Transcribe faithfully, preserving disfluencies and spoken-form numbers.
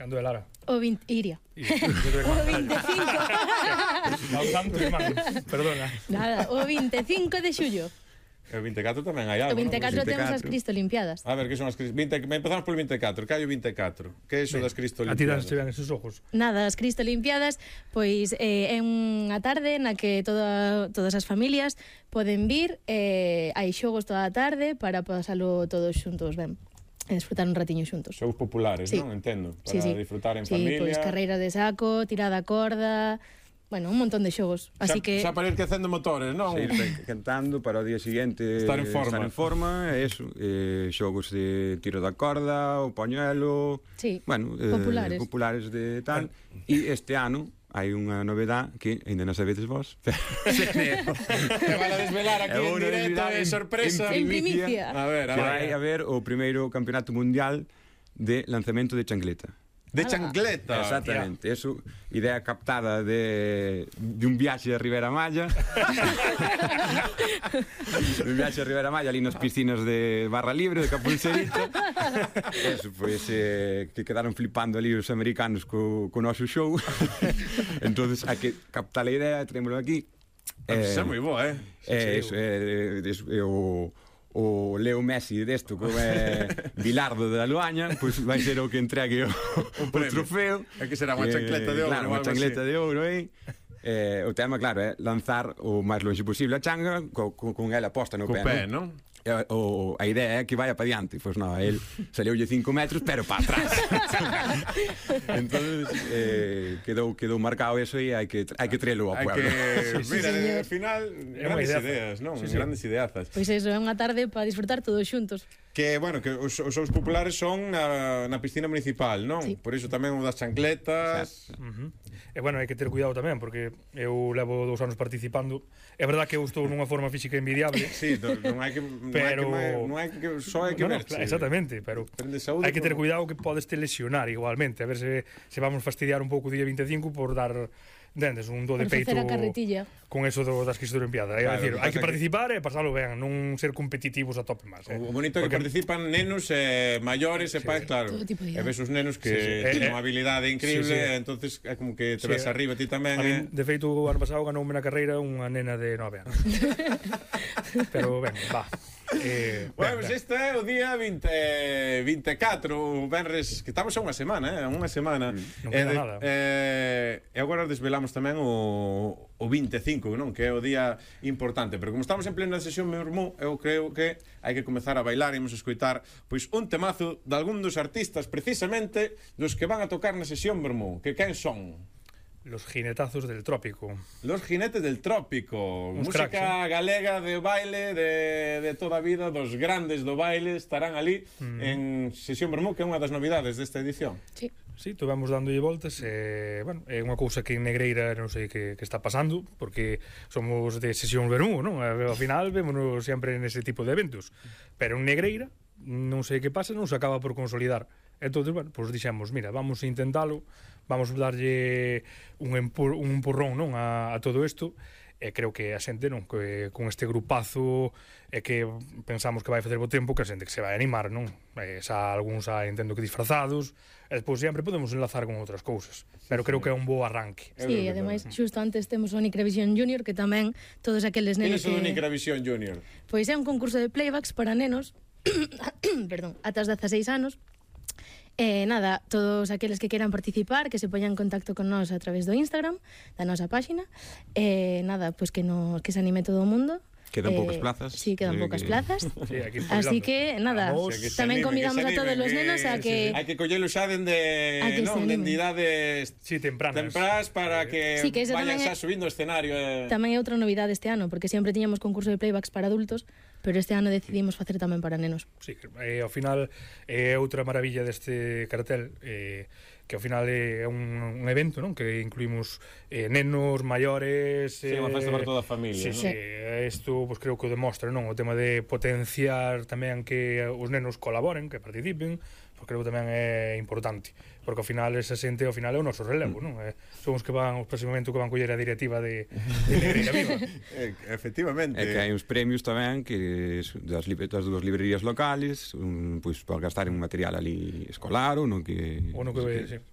Cando é, Lara? O vinte... Iria. O vinte e cinco. Ao santo irmán, perdona. Nada, o vinte e cinco de xullo. E o vinte e catro tamén hai algo, O vinte e catro non? temos as Cristo Limpiadas. A ver, que son as Cristo... vinte... Empezamos polo vinte e catro, que hai o vinte e catro? Que é iso das Cristo A ti Limpiadas? danse ben esos ojos. Nada, as Cristo Limpiadas, pois eh, é unha tarde na que toda, todas as familias poden vir, eh, hai xogos toda a tarde para pasalo todos xuntos ben, e disfrutar un ratiño xuntos. Xogos populares, Sí. non? Entendo. Para Sí, sí. disfrutar en Sí, familia. pois carreira de saco, tirada a corda, bueno, un montón de xogos. Así xa, que xa para ir quecendo motores, non? Ir cantando para o día seguinte Estar en forma. estar en forma, e eso, eh, xogos de tiro da corda, o pañuelo, sí, bueno, eh, populares. populares de tal. E este ano hai unha novedad que ainda non sabedes vos. Te van a desvelar aquí É en unha directo, novidade de en- sorpresa. En primicia. A ver, a Que ver. vai haber o primeiro campeonato mundial de lanzamento de chancleta. De chancleta. Exactamente, eso, idea captada de, de un viaxe a Ribera Maya. De un viaxe a Ribera Maya ali nas piscinas de Barra Libre, de Capulserita. Eso, pois, eh, que quedaron flipando ali os americanos co, co noso show. Entonces, hai que captar a idea, tenémoslo aquí. Eso é moi boa, eh? É, eso, é, é, é o... o Leo Messi desto, como é Bilardo da Luaña, pois vai ser o que entregue o, o trofeo. É que será unha chancleta de ouro, Claro, ou unha algo chancleta así. de ouro, eh? Eh, o tema, claro, é lanzar o máis longe posible a changa co, co, con ela posta no Co pé, pé, non? non? E, o, a idea é que vaya para diante. Pois non, el salioulle cinco metros, pero para atrás. Entonces eh, quedou quedou marcado eso e hai que hai que trelo ao Hai pueblo. que... Sí, Mira, señor. ao final, É unha grandes ideaza. ideas, non? Sí, sí. Grandes ideazas. Pois eso, é unha tarde para disfrutar todos xuntos. Que, bueno, que os, os shows populares son na, na piscina municipal, non? Sí. Por iso tamén o das chancletas. Uh-huh. E bueno, hai que ter cuidado tamén, porque eu levo dous anos participando. É verdad que eu estou nunha forma física envidiable. Sí, non, non hai que Pero- non hai que, non hai que só hai que No, no, verse. claro, exactamente, pero Depende de saúde, hai que ter como- cuidado que podes te lesionar igualmente, a ver se, se vamos fastidiar un pouco o día vinte e cinco por dar, entendes, un do de Por peito facer a carretilla. con eso do, das Cristo Olimpiadas. Claro, É dicir, o que hai que pasa que- participar e pasalo ben, non ser competitivos a tope máis. Eh? O bonito é que Porque- participan nenos e maiores e pais, claro. Todo tipo de E ves os nenos que Sí, sí. teñen Eh, unha habilidade increíble, sí, sí. e entonces é como que te Sí, ves arriba ti tamén. A eh. min, de feito, o ano pasado ganoume na carreira unha nena de nove anos. Pero ben, va. Eh, Bueno, ben, pues ben. este é o día vinte, vinte e catro, o venres, que estamos a unha semana, eh, unha semana. Non E queda de- nada. Eh, e agora desvelamos tamén o, o vinte e cinco, non? Que é o día importante, pero como estamos en plena sesión, meu irmão, eu creo que hai que comezar a bailar e imos escoitar pois un temazo de algún dos artistas precisamente dos que van a tocar na sesión, meu irmão, que quen son? Los jinetazos del trópico. Los Jinetes del Trópico, Uns música cracks, galega de baile de, de toda a vida, dos grandes do baile estarán ali Mm. en Sesión Bermú, que é unha das novidades desta edición. Sí. Sí, tuvemos dándolle voltas e, bueno, é unha cousa que en Negreira non sei que, que está pasando, porque somos de sesión Bermú, non? Ao final vémonos sempre nese tipo de eventos, pero en Negreira non sei que pasa, non se acaba por consolidar. Entón, bueno, pois pues dixemos, mira, vamos a intentalo, vamos a darlle un, empur, un empurrón, non, a, a todo isto, e creo que a xente, non, que con este grupazo é que pensamos que vai facer bo tempo, que a xente que se vai animar, non? E xa algúns xa entendo que disfrazados, e despois sempre podemos enlazar con outras cousas, pero creo que é un bo arranque. É Sí, verdade. ademais, xusto antes temos o Nicravisión Junior, que tamén todos aqueles Que nenos iso do que... Nicravisión Junior? Pois é un concurso de playbacks para nenos perdón, ata os dezaseis anos. E nada, todos aqueles que queran participar, que se poñan en contacto con nós a través do Instagram, da nosa páxina. E nada, pois que nos que se anime todo o mundo. Quedan Eh, poucas plazas. Sí, quedan Eh, poucas que- plazas. Sí, aquí Así espabilando. que, nada, Vamos. Que se tamén animen, convidamos que se a todos animen, os que- nenos a que... Hai que collelo xa dende, A que se non, animen. dende idades Sí, tempranas. temprás para que Sí, que eso vayan tamén xa é- subindo o escenario. Eh. Tamén é outra novidade este ano, porque sempre tiñamos concurso de playbacks para adultos, pero este ano decidimos facer tamén para nenos. Sí, e ao final é outra maravilla deste cartel, eh, que ao final é un, un evento, non? Que incluímos eh, nenos, maiores... Sí, unha festa para toda a familia, Sí, non? sí, isto pues, creo que o demostra, non? O tema de potenciar tamén que os nenos colaboren, que participen, pues creo que tamén é importante, porque ao final esa xente ao final é o noso relevo, non? Eh, son os que van, os próximamente que van coller a directiva de, de Negreira Viva. Eh, efectivamente. É que hai uns premios tamén que das, das dúas librerías locales, un, pois para gastar en material ali escolar ou no que, O no que, sí.